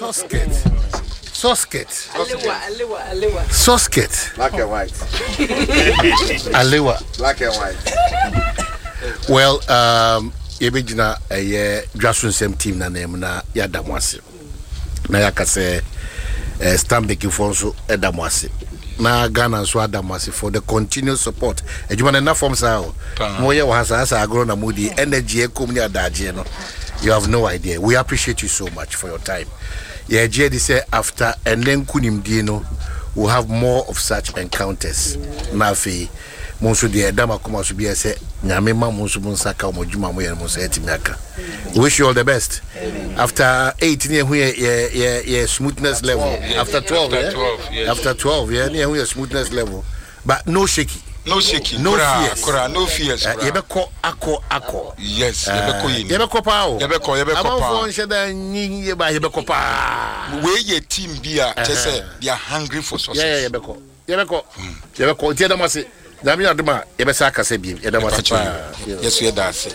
Sosket. Sosket. Alewa, alewa, alewa. Sosket. Black and white. Alewa. Black and white. Well, yɛbɛgyina ɛyɛ dwaso nsɛm team na nan mu na yɛada mo ase na yɛaka sɛ eh, stanbikfoɔ nso ɛda mo ase na Ghana nso ada mo ase for the continuous support. Adwuma no ɛna fam saa o. Moyɛ wɔ ha saa saa agorɔ na modi energy ɛkɔm ne adagyeɛ no. You have no idea. We appreciate you so much for your time. Yɛgye adi sɛ after ɛnɛ nkonimdie no, we'll have more of such encounters. Na afei mo nso deɛ ɛda mo akoma so biara sɛ Nyame ma mo nso mo nsa ka wɔn adwuma a moyɛ no mo nsa atumi aka. We wish you all the best. After 8 ne yɛhu yɛ yɛ yɛ yɛ smoothness level. After 12 After yeah? 12, yes. After 12 yeah ne yɛhu yɛ smoothness level. But no shaky. No shaky. No koraa, fears. Koraa, no fears. Eh, Koraa. yɛbɛkɔ akɔ akɔ. Yes, yɛbɛkɔ yɛ ni. Yɛbɛkɔ paa o. Yɛbɛkɔ, yɛbɛkɔ paa. Amanfoɔ nhyɛ da nyi yɛ ba yɛbɛkɔ paa. Wei yɛ team bi a kyɛ sɛ they are hungry for success. Yeah, yeah, yɛbɛkɔ. Yɛbɛkɔ. Yɛbɛkɔ. Nti yɛda mo ase. Nyame yɛ adom a yɛbɛsa akasa biem. Yɛda mo ase paa. Yɛso yɛda ase.